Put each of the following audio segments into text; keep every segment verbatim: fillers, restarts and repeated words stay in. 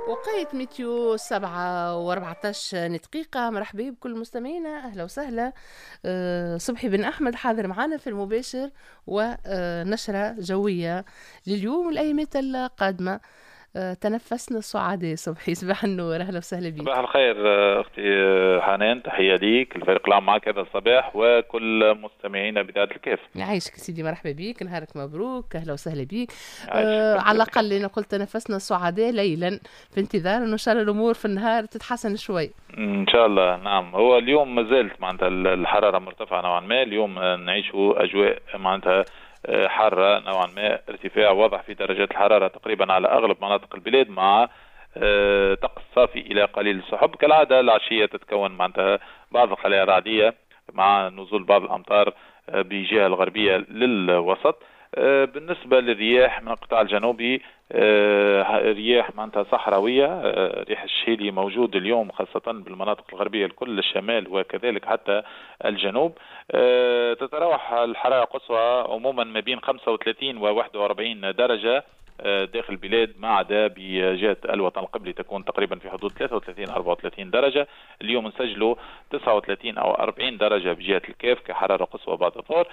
وقيت météo سبعة وأربعتاش دقيقة. مرحبا بكل مستمعينا، أهلا وسهلا. أه، صبحي بن أحمد حاضر معنا في المباشر ونشرة جوية لليوم والأيامات القادمة. أه، تنفسنا السعداء. صبحي صباح النور، أهلا وسهلا بك. صباح الخير أختي حنان، تحية ليك الفريق العام معك هذا الصباح وكل مستمعينا بإذاعة الكاف. يعيشك سيدي، مرحبا بك، نهارك مبروك، أهلا وسهلا بك. آه على الأقل أنا قلت تنفسنا السعداء ليلا في انتظار أنه إن شاء الله الأمور في النهار تتحسن شوي. إن شاء الله. نعم، هو اليوم ما زالت معناتها الحرارة مرتفعة نوعا ما، اليوم نعيش أجواء معناتها حارة نوعا ما، ارتفاع واضح في درجات الحرارة تقريبا على أغلب مناطق البلاد مع طقس صافي إلى قليل السحب. كالعادة العشية تتكون معناتها بعض الخلايا الرعدية مع نزول بعض الأمطار بجهة الغربية للوسط. بالنسبة للرياح من القطاع الجنوبي، رياح معناتها صحراوية، ريح الشهيلي موجود اليوم خاصة بالمناطق الغربية الكل، الشمال وكذلك حتى الجنوب. تتراوح الحرارة القصوى عموما ما بين خمسة وثلاثين و واحد وأربعين درجة داخل البلاد، ما عدا بجهة الوطن القبلي تكون تقريبا في حدود ثلاثة وثلاثين أربعة وثلاثين درجة. اليوم نسجلوا تسعة وثلاثين أو أربعين درجة بجهة الكاف كحرارة قصوى بعد الظهر.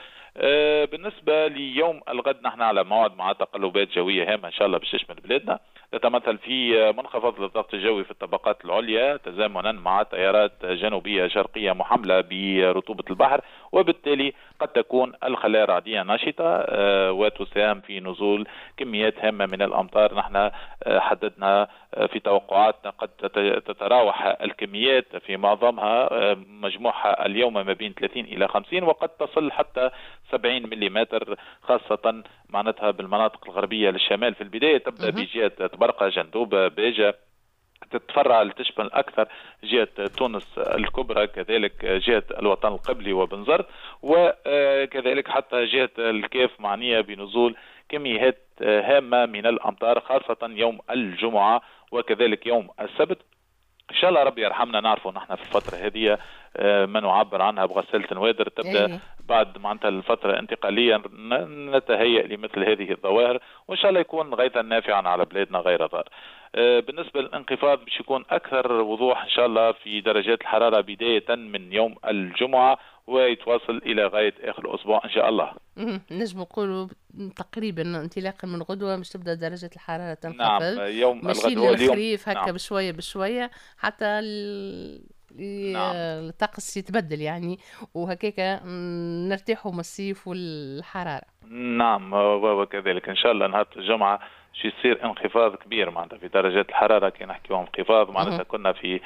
بالنسبة ليوم الغد نحن على موعد مع تقلبات جوية هامة إن شاء الله باش تشمل بلادنا، تتمثل في منخفض للضغط الجوي في الطبقات العليا تزامنا مع تيارات جنوبية شرقية محملة برطوبة البحر، وبالتالي قد تكون الخلايا الرعدية نشطة وتساهم في نزول كميات هامة من الأمطار. نحن حددنا في توقعاتنا قد تتراوح الكميات في معظمها مجموعها اليوم ما بين ثلاثين إلى خمسين وقد تصل حتى سبعين ملم، خاصة معناتها بالمناطق الغربية للشمال. في البداية تبدأ بجهة طبرقة، جندوبة، باجة، تتفرع لتشمل أكثر جهة تونس الكبرى، كذلك جهة الوطن القبلي وبنزرت، وكذلك حتى جهة الكاف معنية بنزول كميات هامة من الأمطار خاصة يوم الجمعة وكذلك يوم السبت. إن شاء الله ربي يرحمنا. نعرفوا نحن في الفترة هذه ما نعبر عنها بغسالة نوادر تبدأ إيه. بعد معناتها الفترة الانتقالية نتهيأ لمثل هذه الظواهر، وإن شاء الله يكون غيثا نافعا على بلادنا غير ضار. بالنسبة للانخفاض باش يكون أكثر وضوح إن شاء الله في درجات الحرارة بداية من يوم الجمعة ويتواصل إلى غاية آخر الأسبوع إن شاء الله. نجم نقولوا تقريبا انطلاقا من غدوة مش تبدأ درجة الحرارة تنخفض. نعم، يوم ماشيين للخريف هكا. نعم. بشوية بشوية حتى ال... نعم. الطقس يتبدل يعني، وهكاك نرتاحوا من الصيف والحرارة. نعم، وكذلك إن شاء الله نهار الجمعة شو يصير انخفاض كبير معناتها في درجات الحرارة. كي نحكيو انخفاض معناتها كنا في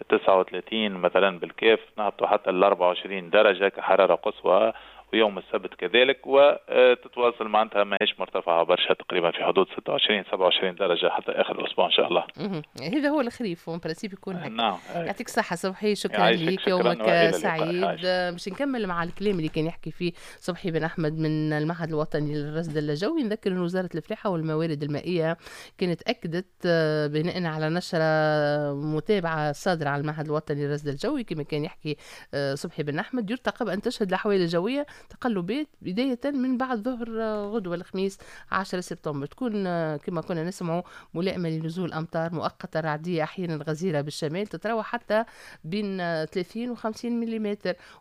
تسعة وثلاثين مثلا بالكاف، نهبطوا حتى ل أربعة وعشرين درجة كحرارة قصوى، ويوم السبت كذلك، وتتواصل معناتها ماهيش مرتفعة برشا، تقريبا في حدود ستة وعشرين سبعة وعشرين درجة حتى آخر الأسبوع إن شاء الله. هذا هو الخريف en principe يكون هكا. نعم، يعطيك الصحة صبحي، شكرا لك، يومك سعيد. باش نكمل مع الكلام اللي كان يحكي فيه صبحي بن أحمد من المعهد الوطني للرصد الجوي، نذكر أن وزارة الفلاحة والموارد المائية كانت أكدت بناء على نشرة متابعة صادرة على المعهد الوطني للرصد الجوي كما كان يحكي صبحي بن أحمد، يرتقب أن تشهد الأحوال الجوية تقلبات بداية من بعد ظهر غدوة الخميس عشرة سبتمبر، تكون كما كنا نسمع ملائمة لنزول أمطار مؤقتة رعدية أحيانا غزيرة بالشمال تتراوح حتى بين ثلاثين وخمسين ملم،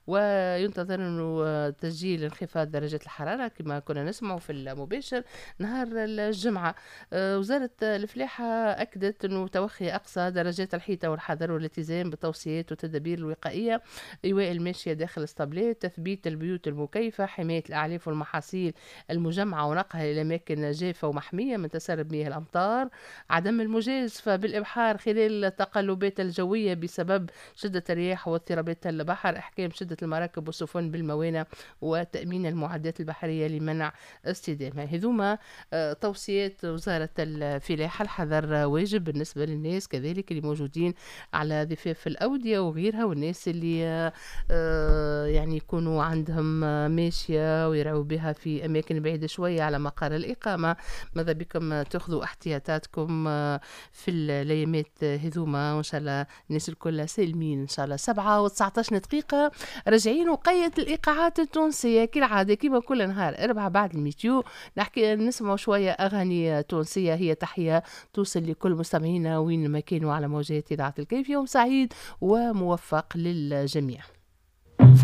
وينتظر أنه تسجيل انخفاض درجة الحرارة كما كنا نسمع في المباشر نهار الجمعة. وزارة الفلاحة أكدت أنه توخي أقصى درجات الحيطة والحذر والالتزام بالتوصيات والتدابير الوقائية، إيواء الماشية داخل الاسطبلات، تثبيت البيوت المكيفة، حماية الأعلاف والمحاصيل المجمعة ونقلها إلى أماكن جافة ومحمية من تسرب مياه الأمطار، عدم المجازفة بالإبحار خلال التقلبات الجوية بسبب شدة الرياح واضطرابات البحر، إحكام شدة المراكب والسفن بالموانئ، وتأمين المعدات البحرية لمنع اصطدامها. هذوما توصيات وزارة الفلاحة. الحذر واجب بالنسبة للناس كذلك اللي موجودين على ضفاف الأودية وغيرها، والناس اللي يعني يكونوا عندهم ماشية ويرعوا بها في أماكن بعيدة شوية على مقر الإقامة. ماذا بكم تاخذوا احتياطاتكم في الأيامات هذوما، وإن شاء الله الناس الكل سالمين إن شاء الله. سبعة وتسعتاش دقيقة راجعين وقيت الإيقاعات التونسية كالعادة كيما كل نهار أربعة بعد ال météo نحكي نسمعوا شوية أغاني تونسية، هي تحية توصل لكل مستمعينا وين ما كانوا على موجات إذاعة الكيف. يوم سعيد وموفق للجميع.